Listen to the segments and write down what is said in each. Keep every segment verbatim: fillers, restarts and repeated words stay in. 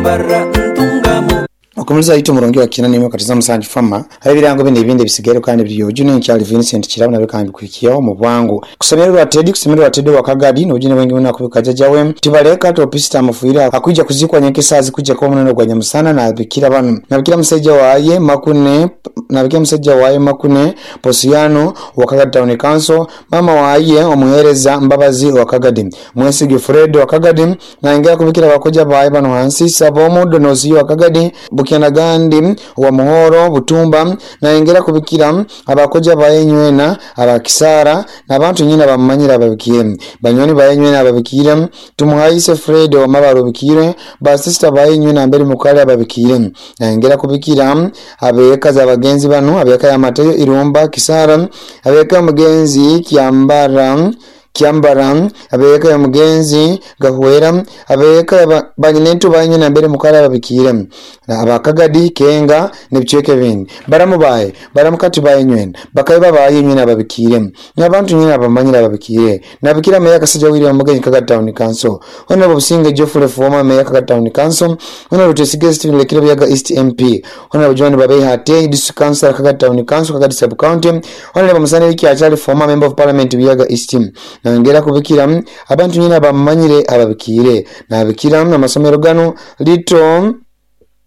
Mbarara Ntungamo. Okumuliza ito murungi wa kinani nimwe katiza musanju fama hari birango bindi ibindi bisigaye kandi biri ojune nkyali Vincent Kirabo nabe kandi kwikiyaho mu bwangu kusemererwa Teddy kusemererwa Teddy wa Kagadi n'ojune wengi muna kubika jajawe tibaleka topista mufuira akuija kuzikwa nyenkesazi kuja kwa munano gwa nyamusana na bikira banu na bikira musajja waye makune na bikira musajja waye makune Posiano wa Kagadi Town Council, mama waye omuhereza Mbabazi wa Kagadi, Mwesige Fred wa Kagadi, na ingera kubikira bakoja baye bano hansi Sabomu Donosi wa Kagadi, Bukyana Gandi wa Muhoro Butumba, na ingera kubikira abakoja baye nywena abakisara n'abantu nyina bamanyira babikire banyoni baye nywena ababikire Tumuhaise Fred wa Mabaro bikire ba sister baye nywena mbere mukale ababikire, na ingera kubikira abeka za bagenzi bano abeka ya Mateyo Irumba Kisara, abeka mugenzi Kiambara Kiambara, abeka ya mugenzi Gahwera, abeka banyinetu baye na mbere mukala babikire abakagadi Kenga nebicweke bindi baramu baye baramukati baye nywena bakaiba baye nywena babikire n'abantu nyina abamanyira babikire nabikira meya Kasajja William Mugenyi Kagadi Town Council, Honorable Businge Geoffrey former meya Kagadi Town Council, Honorable Twesige Stephen Lekiro Buyaga East M P, Honorable John Babehate District Council Kagadi Town Council Kagadi Sub County, Honorable Musana Wiki Achali former member of Parliament Buyaga East, nangera kubikira abantu nyina bamanyire ababikire nabikira amasomero gano Little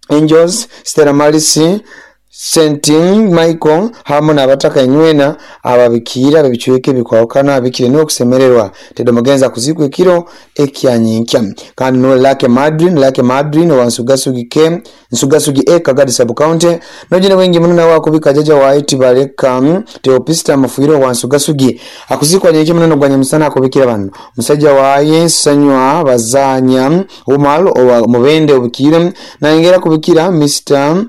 Angels, Stella Maris, Saint Michael hamu n'abataka enywena ababikira babicweke bikwawukana abikire n'okusemererwa Tedo mugenza kuzikwa ekiro ekyanyinkya kandi no Lake Madrin Lake Madrin wa Nsugasugi ke Nsugasugi e Kagadi Sub County nojine wengi muno nawe akubika jaja wa Tibaleka Teopista Mafuiro wa Nsugasugi akuzikwa nyinki muno gwa nyamusana akubikira bano musajja waye Sanywa Bazanya Umar owa Mubende obikire na ingera kubikira Mister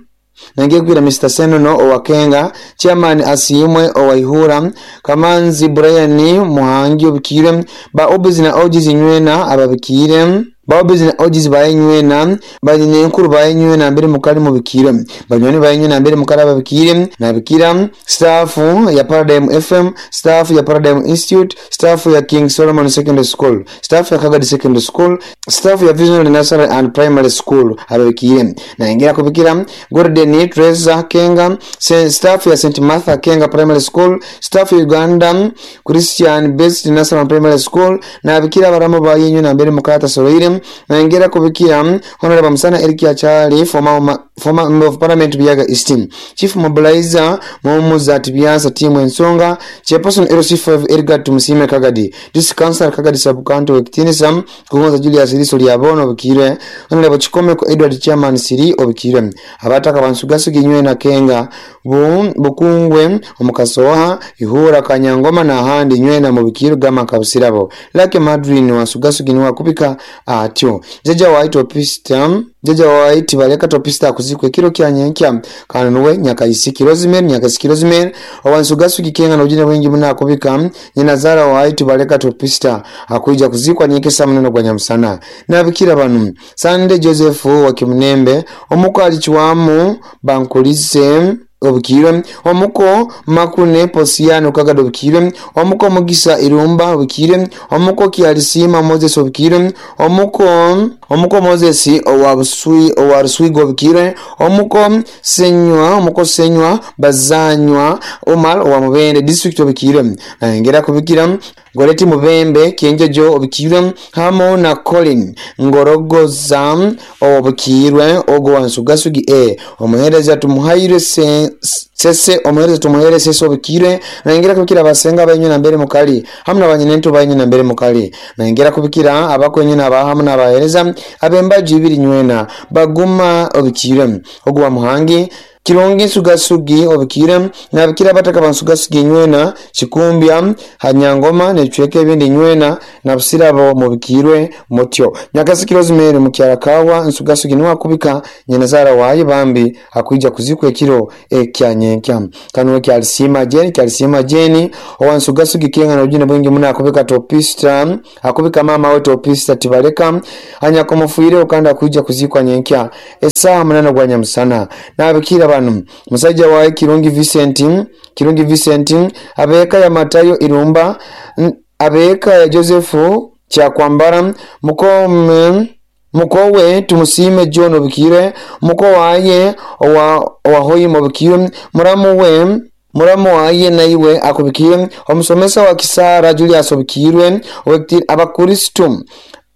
Nangiye kugira Mister Senono owakenga Chairman Asiimwe owaihura Kamanzi Brian Muhangi obikire ba obizi na ojizi nywena ababikire ba obizi na ojizi baye nywena banyine nkuru baye nywena mbere mukali mubikire banywani baye nywena mbere mukali ababikire nabikira staff ya Paradigm F M, staff ya Paradigm Institute, staff ya King Solomon Secondary School, staff ya Kagadi Secondary School, staff ya Visionary Nursery and Primary School ababikire na ingera kubikira Gordon Teresa Kenga, staff ya Saint Martha Kenga Primary School, staff ya Uganda Christian Based Nursery and Primary School nabikira baramu baye nywena mbere mukata soroire na ingera kubikira Honorable Musana Eric Achali former former member of Parliament Buyaga East, Chief Mobilizer Mumuza Tibiansa Timu Ensonga, Chairperson L C five Edgar Tumusime Kagadi, District Council Kagadi Sub County Wekitinisa Kugonza Julius Liso Lyabono obikire Honorable Chikomeko Edward Chairman Siri obikire abataka bansugasugi nywena Kenga bu Bukungwe omukasoha Ihura Kanyangoma na handi nywena mubikire gama kabusirabo Lake Madrin wansugasugi niwa kubika atyo jaja wa Topista jaja wa Tibaleka Topista kuzikwa ekiro kyanyenkya kandi nuwe Nyakaisiki Rosemary Nyakaisiki Rosemary owansugasugi Kenga n'obujune bwingi muna akubika nyina zara wa Tibaleka Topista akuija kuzikwa nyekesa muneno gwa nyamusana nabikira banu Sande Joseph wa Kimunembe omuko alichwamu bankulise obukirwe omuko Makune Posiano Kagado obukirwe omuko Mugisa Irumba obukirwe omuko Kialisima Moses obukirwe omuko omuko Moses owa Busui owa Ruswigo obukirwe omuko Senywa omuko Senywa Bazanywa Omar owa Mubende district obukirwe na kubikira Goreti Mubembe Kienjojo obukirwe hamo na Colin Ngorogoza obukirwe ogo wa Nsugasugi e omuhereza Tumuhaire se sese omuhereza Tumuhaire sese obukirwe na kubikira abasenga bayinywe na mbere mukali hamwe n'abanyinento bayinywe na mbere mukali na kubikira abakwenye n'abahamu n'abahereza abembaji ibiri nywena baguma obukirwe ogo wa Muhangi Kirungi Nsugasugi obukire nabikira abataka bansugasugi nywena Kikumbya Hanyangoma necweke ebindi nywena na busirabo mubikirwe mutyo Nyakasiki Rosemary mukyarakawa Nsugasugi niwa kubika nyenazara waye bambi akuija kuzikwa ekiro ekyanyenkya kanwe kyalisima Jeni kyalisima Jeni owa Nsugasugi Kenga n'obujune bwingi muna akubika Topista akubika mama we Topista Tibaleka anyakomufuire okanda akuija kuzikwa nyenkya esaha munana gwa nyamusana nabikira banu musajja wae Kirungi Vincent Kirungi Vincent abeka ya Matayo Irumba abeka ya Joseph Kyakwambara mukome Mukowe Tumusime John obikirwe, muko waye owa owahoyima obikirwe, muramu we muramu waye naiwe akubikirwe, omusomesa wa Kisara Julius obikirwe, abakristu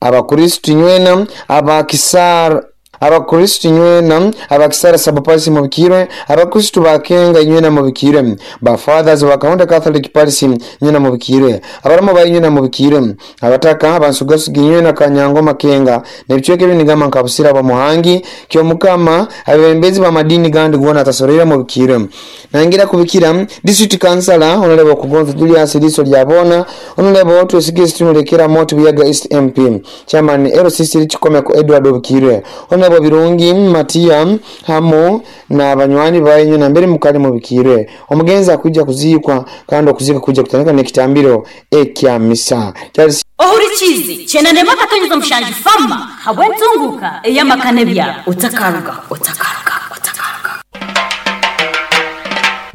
abakristu nywena abakisara abakristu nywena abakisara sabapasi mubikirwe, abakristu bakenga nywena mubikirwe, ba fathers ba Kaunda Catholic Parish nywena mubikirwe, abaramu bayi nywena mubikirwe, abataka abansugasugi nywena Kanyango Makenga nebicweke binigama nkabusira ba Muhangi Kyomukama abembezi ba madini gandi gona atasorera mubikirwe. Nangira kubikira district councilor Honorable Kugonza Julius Liso Lyabona, Honorable Twesigye Tunulekera Moto Buyaga East M P, Chairman L C C Chikomeko Edward Obikirwe, Honorable Birungi Matia hamu na banywani bayenyu na mbere mukali mubikirwe. Omugenzi akujja kuzikwa kandi okuzika kujja kutandika n'ekitambiro ekya misa. Charles Ohurikizi chenande makatonyeza mushanji fama habwentunguka eyamakane bya utakaruga utakaruga utakaruga.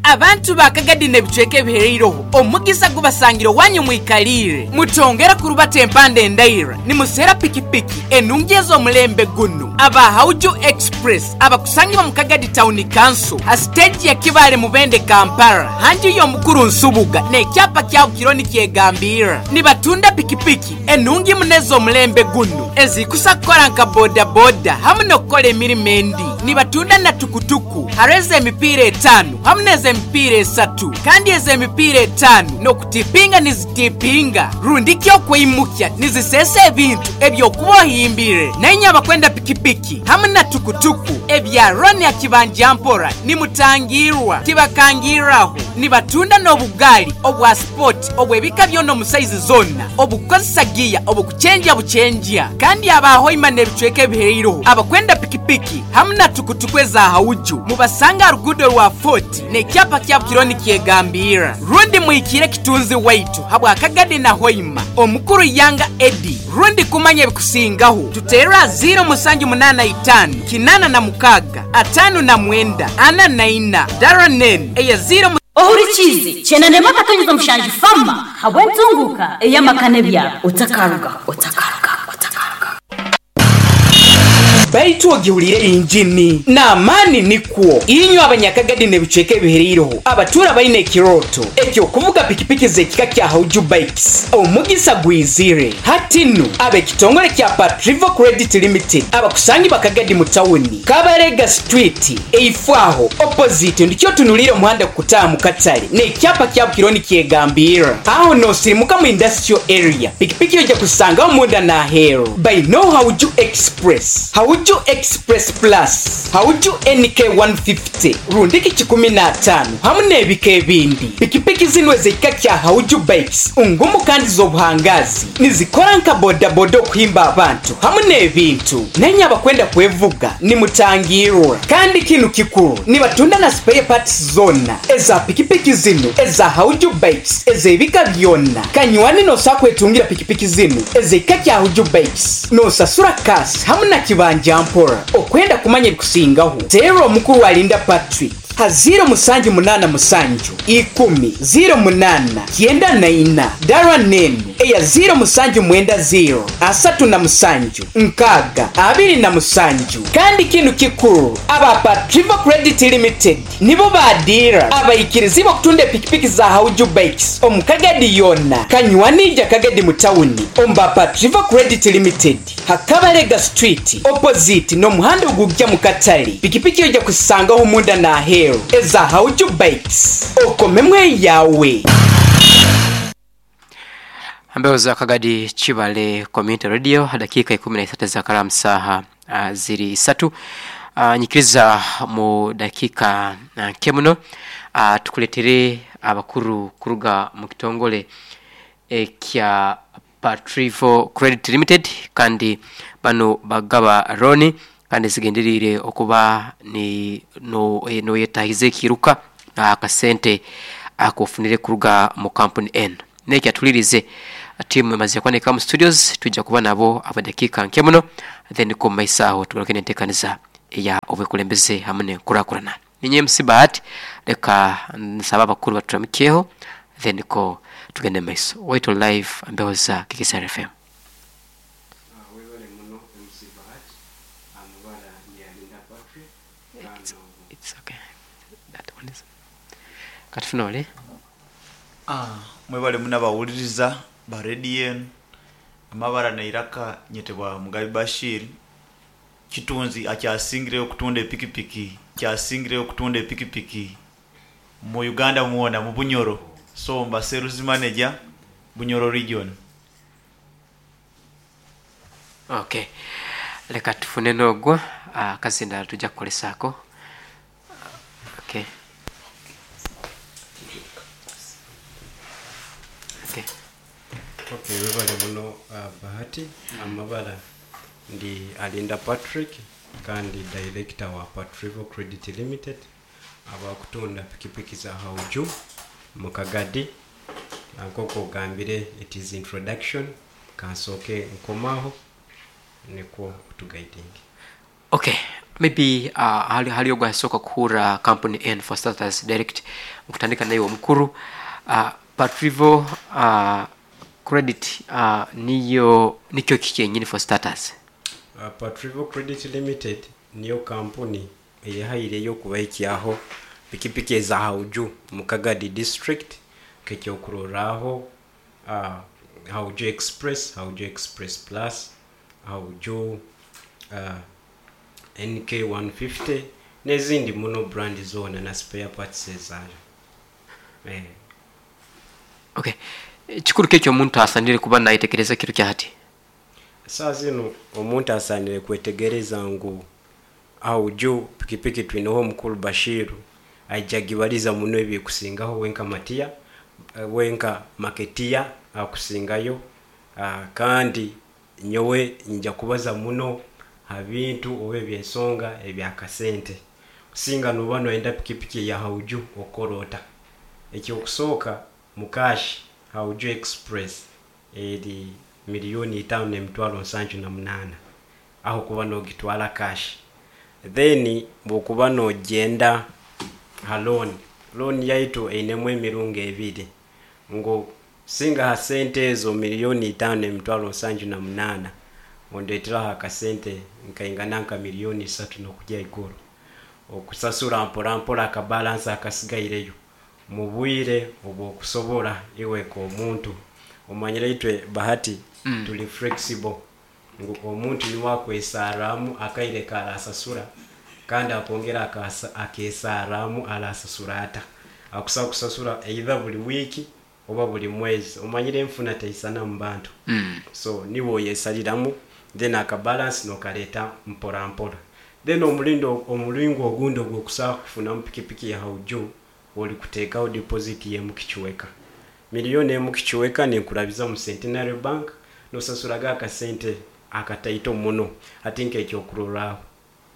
Abantu bakagadi nebicweke bihereiroho omugisa gubasangiro wanyu mwikalire mutongera kurubata empande endaira nimusera pikipiki enungi omulembe guno aba Hauju Express abakusangibwa mu Kagadi Town Council a stage ya Kibale Mubende Kampala hanji y'omukuru Nsubuga n'ekyapa kya Kironi kyegambira nibatunda pikipiki enungi munezo omulembe guno ezikusa kukola nka boda boda hamu n'okukola emirimu endi nibatunda na tukutuku hareze emipiira etaano hamu n'eze emipiira esatu kandi eze emipiira etaano n'okutipinga nizitipinga rundi kyokwimukya nizisesa ebintu ebyokubohimbire naye abakwenda pikipiki hamu na tukutuku ebya Roni ya kibanja mpora nimutangirwa tibakangiraho nibatunda n'obugali obwa sport obwebika byona mu size zonna obukozesa giya obukuchenja buchenja kandi abahoima n'ebicweke ebihereiroho abakwenda pikipiki hamu na tukutuku eza Hauju mubasanga rugudo rwa Fort n'ekyapa kya Kironi kyegambira rundi mwikire kitunzi waitu habwa Kagadi na Hoima omukuru Yanga Edi rundi kumanya ebikusingaho tutera zero musanju munana itano kinana na mukaga atano na mwenda ana na ina daranen eya zero. Ohurikizi chenande makatonyeza mushanji fama habwentunguka eyamakane bya utakaruga utakaruga utakaruga. Baitu ogihulire injini n'amaani nikwo inyo abanyakagadi nebicweke bihereiroho abatura baine ekiroto ekyokuvuga pikipiki z'ekika kya Hauju Bikes omugisa gwizire hatinu ab'ekitongole kya Patrivo Credit Limited abakusangi bakagadi mu tawuni Kabarega Street eifwaho opposite ndikyo tunulire omuhanda kukutaamu mu katale n'ekyapa kya Kironi kyegambira aho nosirimuka mu industrial area pikipiki ojja kusangaho munda n'aheeru by no Hauju Express Hauju Express Plus Hauju N K one fifty rundiki kikumi na tano hamu n'ebika ebindi pikipiki zino ez'ekika kya Hauju Bikes ungumu kandi z'obuhangazi nizikora nka bodaboda okuhimba abantu hamu n'ebintu nenye abakwenda kwevuga nimutangirwa kandi kinu kikuru nibatunda na spare parts zonna eza pikipiki zino eza Hauju Bikes ez'ebika byonna kanywani nosakwetungira pikipiki zino ez'ekika kya Hauju Bikes nosasura kasi hamu na kibanja mpora okwenda kumanya ebikusingaho tero omukuru alinda Patrick ha zero musanju munana musanju ikumi zero munana kyenda na ina dara nenu eya zero musanju mwenda zero asatu na musanju nkaga abiri na musanju kandi kinu kikuru aba Patrivo Credit Limited nibo badira abayikirizi bakutunda pikipiki za Hauju Bikes omukagadi yonna kanywanija Kagadi mu tawuni omba Patrivo Credit Limited Hakabarega Street opposite n'omuhanda ogujja mu katale pikipiki ojja kusangaho munda n'aheeru eza Hauju Bikes okomemwe yawe. Ambeo za Kagadi Chibale Community Radio dakika ikumi na isatu za karamu saha uh, ziri isatu uh, nyikiriza mu dakika uh, kemuno uh, tukuletere abakuru kuruga mu kitongole ekya Patrivo Credit Limited kandi bano bagaba roni kandi zigenderire okuba ni no e, no yetahize kiruka akasente akofunire kuruga mu company N neki atulirize timu mazi yakwane kama studios tujja kuba nabo abadakika nke muno then ko maisaho tugaruke nentekaniza ya obukulembeze hamwe nkurakurana ninye M C Bahati leka nsaba abakuru baturamikeho then ko tugende maiso wait live ambeho za Kikisar F M. Webale muno M C Bahati. It's, it's okay. That one is. Katufuna ole. Ah, mwebale munabawuliriza ba radio enu amabara neiraka nyetebwa Mugabi Bashir kitunzi akyasingireyo okutunda epikipiki kyasingireyo okutunda epikipiki mu Uganda mwona mu Bunyoro, so mba sales manager Bunyoro region. Okay, leka tufune n'ogwo akazindalo tujja kukolesaako. Okay, okay. Okay, webale muno uh, Bahati. Amabara ndi Alinda Patrick kandi director wa Patrivo Credit Limited abakutunda pikipiki za Hauju mu Kagadi. Nk'oku ogambire, it is introduction, kansooke nkomaho nikwo otuguiding. Okay, maybe uh, hali, hali ogwo asooka kuhurra company n for starters direct nkutandika naye omukuru uh, Patrivo uh, Credit uh, niyo nikyo kiki yenyini for starters? Uh, Patrivo Credit Limited niyo kampuni eyehaireyo okubahikyaho pikipiki eza Hauju mu Kagadi district, nk'ekyokurorraho uh, Hauju Express, Hauju Express Plus, Hauju uh, N K one fifty n'ezindi muno brand zoona na spare parts ezaayo eh. Okay, kikuru ki ekyomuntu asanire kuba nayetegereza kiro kya hati? Saa zino omuntu asanire kwetegereza ngu Hauju pikipiki twineho omukuru Bashiru aija gibaliza muno ebikusingaho wenka matiya wenka maketiya akusingayo. uh, kandi nyowe nja kubaza muno ha bintu oba ebyensonga ebyakasente. Singa noba noyenda pikipiki ya Hauju, okorota ekyokusooka mukashi Hauju Express eri miliyoni itaano n'emitwaro nsanju na munaana aho kuba nogitwara cash. Then bwokuba nogenda ha loan, loan yaitu einemu emirungo ebiri, ngu singa ha sente ezo miliyoni itaano n'emitwaro nsanju na munaana ondeteraho akasente nkaingana nka miliyoni isatu n'okujya iguru, okusasura mpora mpora akabalansi akasigaireyo mu bwire obwokusobora iwe k'omuntu. Omanyire itwe Bahati mm. tuli flexible, ngu omuntu niwe akwesaramu akaire karasasura kandi akongera akasa- akesaramu arasasura ata akusa kusasura either buli wiiki oba buli mwezi. Omanyire enfuna teisana mu bantu mm. so niwe oyesaliramu, then akabalance nokaleta mpora mpora. Then omulindo omulingo ogundi ogwokusobola kufunamu pikipiki ya Hauju, oli kuteekawo deposit yemu kikiweka miliyoni emu kikiweka nenkurabiza mu Centenary Bank, nosasuraga akasente akataito muno. Ati nkekyokurorraho,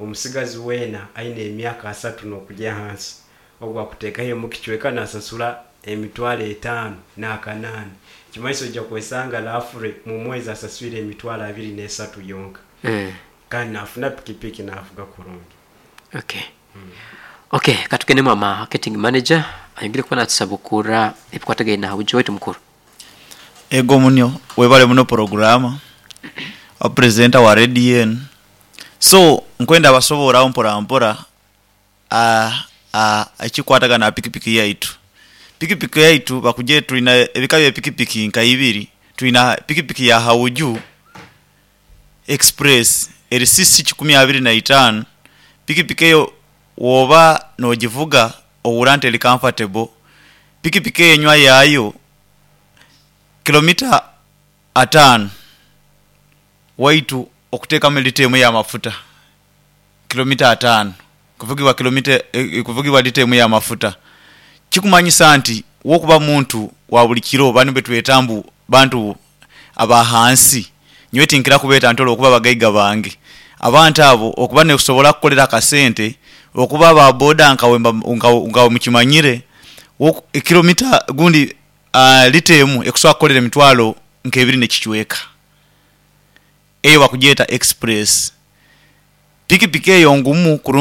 omusigazi weena aine emyaka asatu n'okujya hansi ogwo akuteekaho emu kichweka nasasura emitwalo etaano n'akanaana, kimaiso ojja kwesanga lafure mu mwezi asaswire emitwalo abiri n'esatu yonka Mm. kandi nafuna pikipiki navuga kurungi. Okay, okay, katugende mu marketing manager ayongere kuba natusabukura ebikwatagaine na Hauju waitu mukuru. Ego munyo webale muno programa presenter wa radio enu. So nkwenda abasoboraho mpora mpora ah, ah, ekikwatagana na pikipiki yaitu. Pikipiki yaitu bakuje tulina ebika bya pikipiki nka ibiri. Tulina pikipiki ya Hauju Express eri C C kikumi abiri na itaano. Pikipiki eyo woba nogivuga owura nti eri comfortable. Pikipiki eyo enywa yaayo kilomita ataano waitu okuteekamu lita emu y'amafuta, kilomita ataano kuvugibwa kilomita eh, kuvugibwa lita emu y'amafuta. Kikumanyisa nti wokuba muntu wa buli kiro, banu betweta mbu bantu abahansi, nyowe tinkira kubeeta nti olwokuba bagaiga bange, abantu abo okuba nekusobola kukolera akasente okuba aba boda nkawe mba- nkawe nkawe mukimanyire woku- ekilomita gundi uh, lita emu ekusobola kukolera emitwalo nk'ebiri n'ekicweka. Eyo bakugyeta Express. Pikipiki eyo ngumu kurungi.